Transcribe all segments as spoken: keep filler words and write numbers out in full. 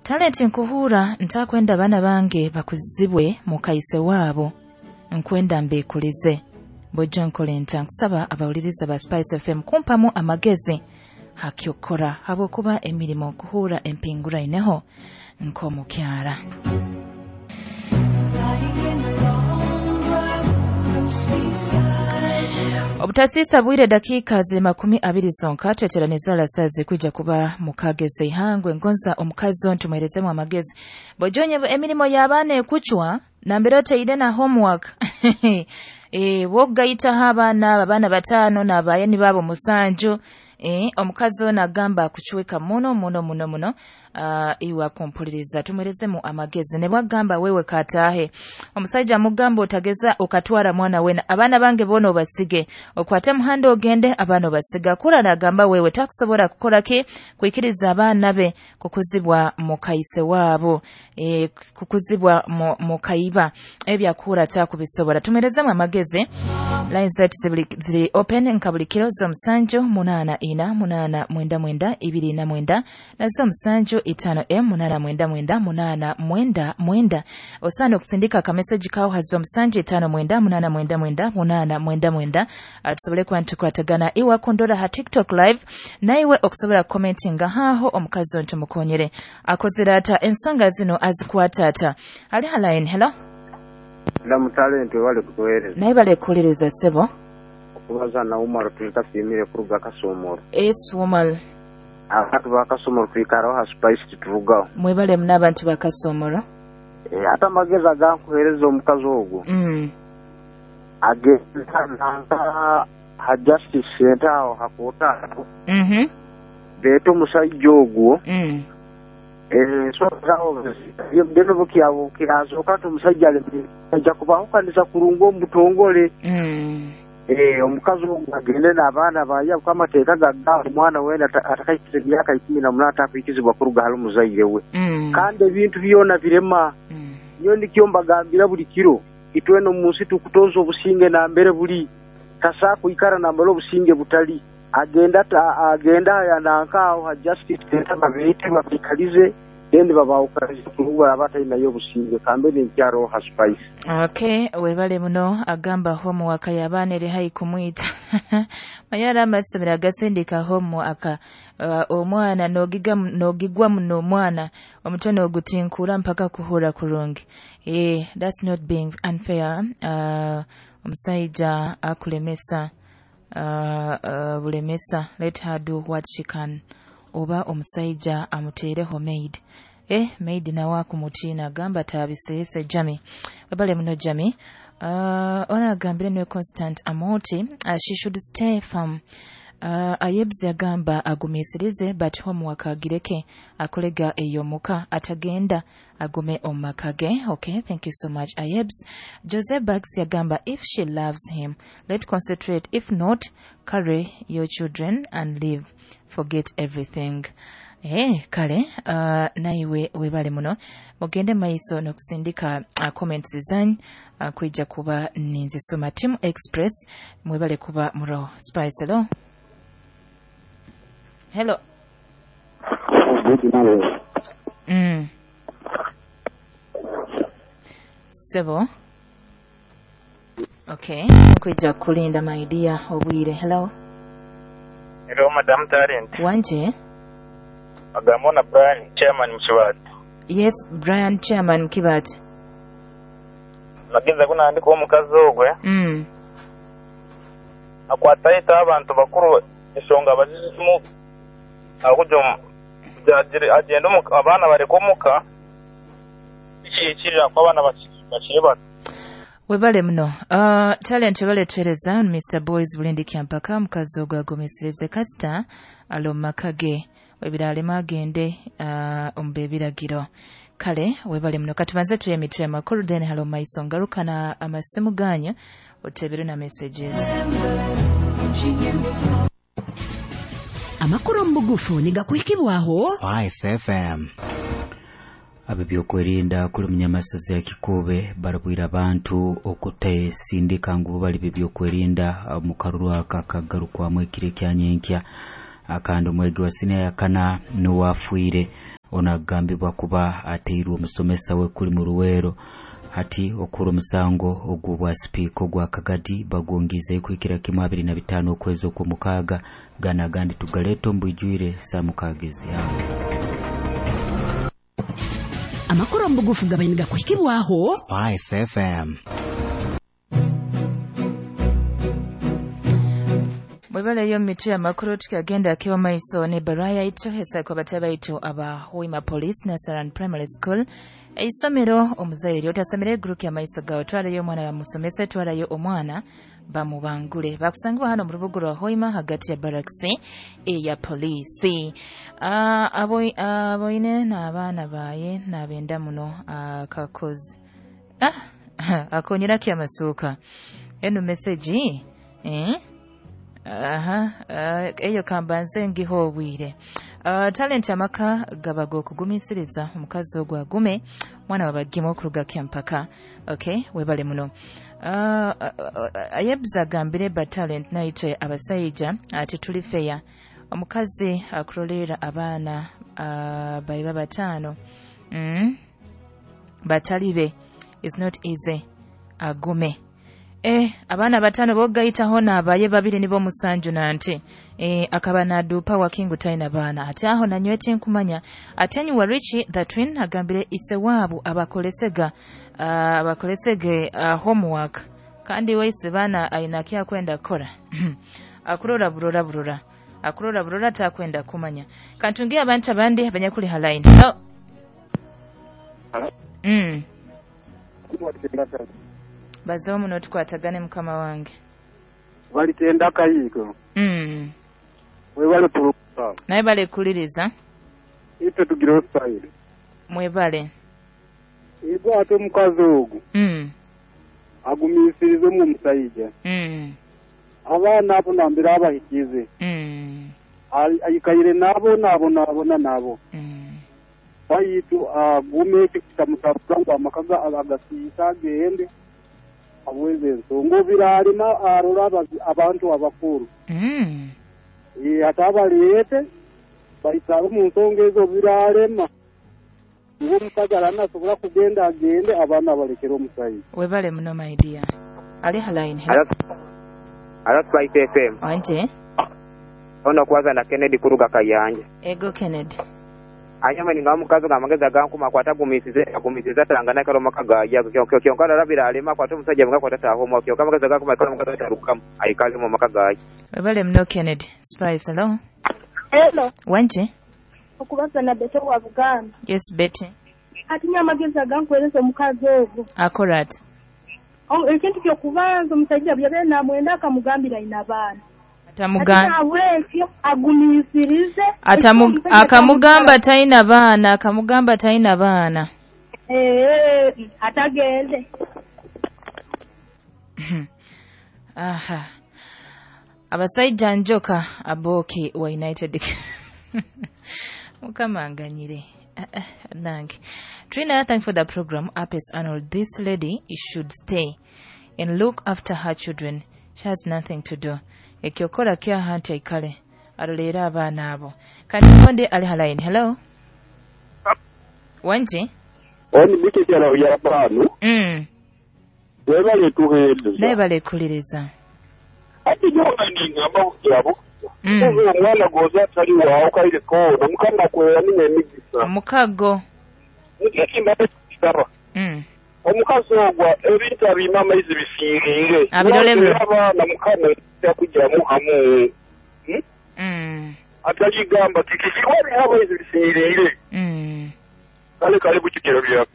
Talent nkuhura ntakwenda abaana bange bakuzibwe mukaise waabo, nkwenda mbekulize bojjo nkole nta. Nkusaba abawuliriza ba Spice F M kumpamu amagezi hakyokora habwokuba emirimo kuhura empinguraineho nk'omukyara. Obutasisa bwire dakika ziri makumi abiri zonka tweteraniza alasazi kuja kuba mukageze ihangwe ngonza omukazi ontu muherezemu amagezi. Bojonye emirimo y'abaana ekuchwa nambere oteire na homework. E, wogaita abaana abaana batano n'abayeni babo musanju. E, omukazi ono agamba akuchweka muno muno muno muno. Uh, iwa kumpuliriza tumuherezemu amagezi ne bwagamba wewe katahe omusajja amugamba otageza okatwara mwana wena abaana bange bona obasige okwate muhanda ogende abaana obasiga kura nagamba wewe takusobora kukola ki kwikiriza abaana be kukuzibwa mukaise wabo e, kukuzibwa mukaiba ebyakura takubisobora. Tumuherezemu amagezi. Line zetu ziri open nkabuli kiro zo musanju munana ina munana mwenda mwenda ibiri na mwenda na zo musanju itano m munana mwenda mwenda munana mwenda mwenda. Osana okusindika ka message kawo hazo musanju itano mwenda munana mwenda mwenda munana mwenda mwenda tusobole kuba ntukwatagana iwe kundora ha TikTok live na iwe okusobola commentinga haho omukazi ontu mukonyere akozera ata ensonga zino azikwata ata. Ali ha line. Hello. Ndamu Talent wale kutuhereza. Naye bale kuhereza sebo. Okubaza na Umar tulita fimire kuruga Kasomoro. Es Umar. Abantu ba Kasomoro twikaraho ha Spice turugaho. Mwebale muna abantu ba Kasomoro. Eh ata amagezi agankuhereza omukazi ogwo. Mm. Agenda nanga ha Justice Center aho hakota. Mhm. Beto musajja ogwo. Mm. Eh so zawo bino bukyabo kirazo kati omusajja ajja kubahukanisa kurungu omutongole. Mm. Eh omukazi ogwo agende n'abaana baye amateeka gagamba omwana wena atakayikiriza emyaka ikumi na munana atakwikizibwa kuruga hali omuzaire we. Mm. Kandi ebintu byona birema. Mm. Nyo nikyo mbagambira buli kiro itweno mu nsi tukutoza obusinge nambere buli kasa kuikara nambere obusinge butali agenda agenda yananka ha Justice Center babete babikalize then babawukalize kuruga abatayina obusinge kambe n'enkyaro ha Spice. Okay, webale muno agamba homework y'abaana eri hayi kumwita. Mayara amasomero agasindika homework uh, omwana nogiga nogigwa muno omwana omutwe n'ogutinkura mpaka kuhura kurungi. Eh, that's not being unfair. Uh, omusajja akulemesa uh, uh, bulemesa let her do what she can. Oba omusajja amuteereho maid. Eh, maid nawe akumutiina agamba tabiseese Jami. Webale muno Jami. Uh, ona agambire niwe Constant Amoti uh, she should stay firm. Uh, Ayebs yagamba agumisirize but homework agireke akolega eyo muka atagenda agume omakage. Okay, thank you so much Ayebs. Jose Bugs yagamba if she loves him let concentrate, if not carry your children and leave, forget everything. Eh, kale uh, naiwe webale muno mugende maiso n'okusindika uh, comments zanyu uh, kwijja kuba ninzisoma. Team Express mwebale kuba muro Spice. Hello. Hello. Mm. Sebo. Okay, kwijja kulinda my dear obwire. Hello. Hello Madam Talent. Wanje. Agamona Brian Chairman Mkibati. Yes, Brian Chairman Mkibati. Mageza kunandika omukazi ogwe. Mm. Akwata ita abantu bakuru ensonga bazizimu akujo agenda abaana bareka omuka ikikirira ko abaana bakiri bato. Webale muno. Uh, Talent webale tuhereza Mister Boys bulindi kyampaka mukazi ogwe agumisirize kasita alo makage webiralema agende uh, ombe biragiro. Kale webale muno katubanze tuye mitwe amakuru then halo maiso ngaruka na amasimu ganyu otebere na messages. Amakuru mbugufu nigakuhikibwaho Spice F M. Ab'ebyokwerinda kuli munyamasazi ya Kikube barabwira abantu okutesindika ngu bali b'ebyokwerinda mu karuru aka kagarukwamu ekiro ekya nyenkya. Akandi omwegi wa siniya yakana n'owafiire Ono agambibwa kuba ateirwe omusomesa we kuli mu Luweero. Hati okura omusango ogw'obwa sipiika ogwa Kagadi bagwongize kuhikira kimu abiri na bitaano okwezi okw'omukaaga. Gana agandi tugaleeta omu bwijwire saa mukaaga ez'ihangwe. Amakuru omubugufu gabaine gakuhikibwaho Spice F M. Mwebale mitwe amakuru tukagenda akiwa maiso ne baraya ito hesa kwa batabaitu aba Hoima Police Nasaran Primary School. Eisomero omuzaire lyotasamire group ya maiso gawe twalayo omwana bamusomese twalayo omwana bamubangule bakusangibwa hano mu rubuga rwa Hoima hagati ya barracks eya polisi. Uh, abo aboine n'abaana baye nabenda muno akakozi ah akonyera ki amasuka eno message eh aha uh, eyo kambanze ngiho obwire. Uh, talent amaka gabago kugumisiriza omukazi ogwo agume mwana wabagimo okuruga kyampaka. Okay, webale muno. Uh, uh, ayebza gambire ba talent naitwe abasajja ati tuli fair. Omukazi akulolera abaana uh, baiba batano mm. batalibe is not easy agume. Eh abaana batano bogaita hona abaye babiri nibo musanju nante eh akaba nadupa wakingu taina bana ate aho nanywete nkumanya atenyu wa Richie the twin agambire ise wabo abakolesega uh, abakolesege uh, homework kandi wese bana ainakia kwenda kora akurora burora burora akurora burora takwenda kumanya kantungia abantu abandi abanyakuli halaini. Oh. Mm. Bazo muno tukwatagane mukama wange. Balitenda kayiko. Mm. Webale puluka. Naye bale kuliriza. Ite tugiro style. Mwebale. Igwa ate mukazi ogu. Mm. Agumisirize mu musayija. Mm. Abaana abo nambira abahikize. Mm. Ayikaire nabo nabo nabo na nabo. Mm. Bayitu agume kitamutabula ngo amakaga agasisa gende. Aweze ensonga biralima arora abantu abakuru. Mm. Eh atabaleete bayitaba mu nsonga ezo biralema. Ngo mukagala nasobola kugenda agende abaana balekera omusayi. Webale muno my dear. Ali halaini. Ala Spice F M. Anje. Ono kwaza na Kennedy kuruga Kayanja. Ego Kennedy. Anyama ni ngamukazo ngamageza gankuma kwata gumisize agumisize atangana kalo makaga ya kyo kyo rabira alema kwata omusajja nga kwata taho mo kyo kamageza gankuma kalo makaga tarukamu ayikale mu makaga. Webale muno Kennedy. Spice hello. Hello. Wanje. Okubaza na Betty wa Buganda. Yes Betty. Atinya amageza gankwereza omukazi ogwo. Akorat. Ekintu kyokubanza omusajja byabe namwenda akamugambira ina abaana. Atamugamba agumisirize Atamu, akamugamba taina baana akamugamba taina baana eh atagende. Aha abasajja njoka aboki wa United mukamanganyire nange. Trina, thank for the program. Apes Arnold, this lady should stay and look after her children. She has nothing to do. Ekyokora kya hanti aikale arolera abaana abo. Kandi konde ali halaini. Hello. Wanje. Oni biki kyalo ya banu. Mm. Webale tuheereza. Nebale kuliriza. Ati nyowe ngamba kukyabo. Mm. Omwana goza atali waawo kaire koona mukama kwera nina emigisa. Omukago. Nikimba kisaba. Mm. Omukazi ogwa ebintu abima amaizi bisiirire. Abirolebwe. Abaana mukama yakugyamu hamu. Hmm? Mm. Ataligamba tikikirwa amaizi bisiirire. Mm. Kale kale bukigero bya.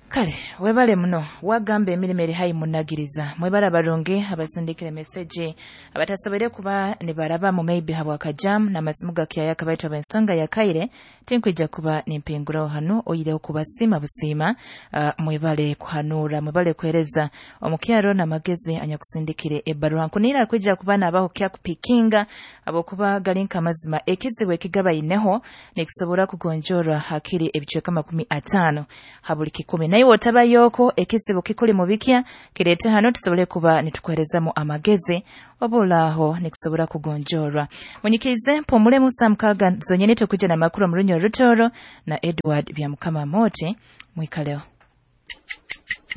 Kale webale muno wagamba emirimo eri hayi munagiriza mwebala balungi abasindikire message abatasobere kuba ne baraba mu maybe habwa kajam na masimu gakyaya kabaitwa abensonga ya kaire tinkwija kuba nimpinguraho hano oyireho kubasima busima uh, mwebale kuhanura mwebale kuhereza omukyaro na magezi anyakusindikire ebarua nkunira kwija kuba nabaho kya kupikinga abokuba galinka amazima ekizibu ekigaba ineho nekisobora kugonjora hakiri ebicweka makumi atano habuli kikumi. Naiwe otabayoko ekizibu kikuli mu bikya kireete hano tusobole kuba nitukuherezamu amagezi obulaaho nikusobora kugonjorwa. Munyikirize mpumulemu saa mukaaga zonyene tukujja n'amakuru mu Runyo Rutoro na Edward Byamukama Moti. Mwikaleho.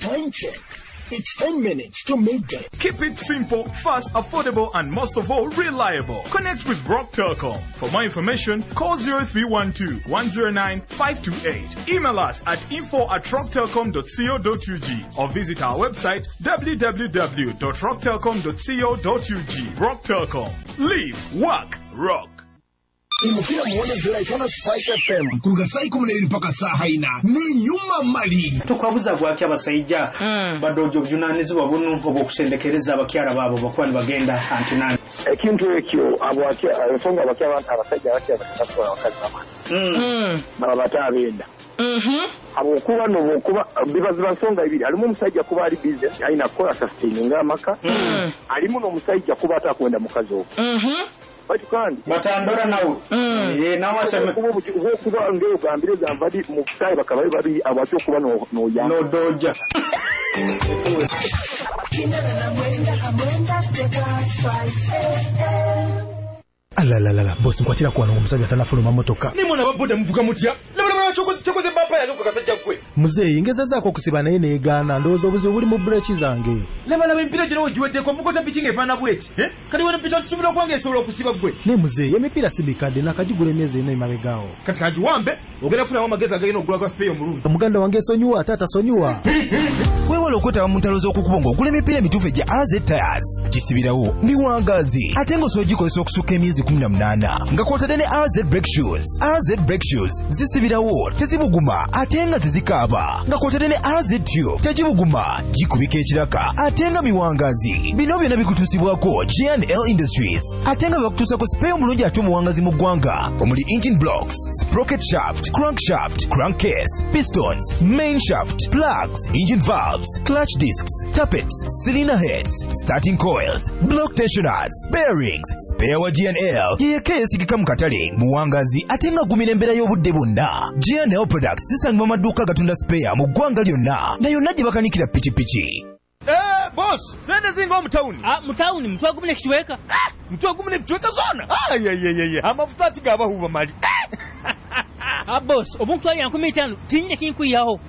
Time check. It's ten minutes to midday. Keep it simple, fast, affordable, and most of all, reliable. Connect with Rock Telcom. For more information, call zero three one two, one zero nine, five two eight. Email us at info at rocktelcom dot co dot U G or visit our website w w w dot rocktelcom dot co dot U G. Rock Telcom. Live, work, rock. Imukira muone July Spice F M kuruga saa ikumi n'ebiri mpaka saa haina ni nyuma mali tukwabuza gwaki abasajja mm. badojo obuvunanyizibwa buno obw'okusendekereza abakyala baabo bakuba nibagenda antinani ekintu ekyo ensonga abasajja abakyala bakasasula abakazi bamani baba batabenda habwokuba nobwokuba bibaziba nsonga ibiri alimu omusajja kuba ali business alina kukola sustaininga amaka alimu n'omusajja kuba atakwenda mukazi ogwo bati kandi batandora nawe eh nawe aseme kuba ngeo gambire gambadi mu kutayi bakabaye babi abacho kuba no no ya no doja Alalalala boss nkwatira kwa omusajja tanafuluma motoka nimona baboda muvuga mutya chokoze chokoze bapa yange kasajja gwe muzeeyi ngezezaako okusiba naye neegaana ndowooza obuzibu buli mu breki zange laba laba emipiira gino wegiweddeko mukota piki ng'efaanana bweti kati wano pita tusuubira okuba ng'esobola okusiba gwe naye muzeeyi emipiira si mikadde nakagigula emyezi ena emabegaawo kati kagiwambe ogenda kufunamu amagezi agagenda okugula gwa sipeeyo omulungi muganda wange esonyiwa ate atasonyiwa weewala okwetaba mu ntalo z'okukuba ng'ogula emipiira emituufu egya R Z Tires gisibirawo miwangaazi ate ng'osobola ogikozesa okusukka emyezi kumi na munaana nga kw'otadde ne R Z Brake Shoes. R Z Brake Shoes zisibirawo tezibuguma ate nga tezikaaba nga kw'otadde ne R Z Tube tegibuguma gikubika ekiraka ate nga miwangazi. Bino byonna bikutuusibwako G and L Industries ate nga bakutuusako sipeeyo omulungi ate omuwangazi mu ggwanga omuli engine blocks, sprocket shaft, crankshaft, crankcase, pistons, main shaft, plugs, engine valves, clutch discs, tappets, cylinder heads, starting coils, block tensioners, bearings. Spare wa G and L yeyeka eyesigika mu katale muwangazi ate nga gumira embeera y'obudde bwonna. G and L Products zisangibwa mu maduuka agatunda spare mu ggwanga lyonna na yonna gye bakanikira pikipiki. Eh, boss, sente zinga omutawuni. Ah, mutawuni mutwe gumu n'ekichweka. Ah, mutwe gumu n'ekichweka zona. Ah, ye ye ye ye. Amafuta atigabahuba mali. Ah, boss, obuntwali nkumi itaano tinyine kinkuyaho.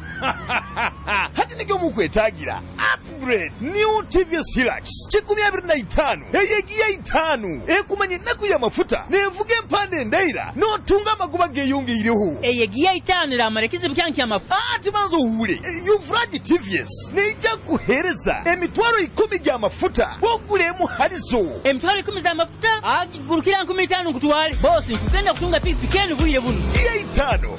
Hati nikyo mukwetagira. Upgrade New T V S Hilux kikumi abiri na itaano eyegiya itaano ekumanye ennaku y'amafuta nevuga empande endaira n'otunga amagoba geeyongeireho eyegiya itaano eramara ekizibu kyange ky'amafuta ati banza owuule Yuvuraji T V S neija kuheereza emitwalo ikumi gy'amafuta bw'ogula halizo emitwalo ikumi z'amafuta agigurukira nkumi itaano nkutwale bosi nkugenda kutunga pikipiki enu bwire buno giya itaano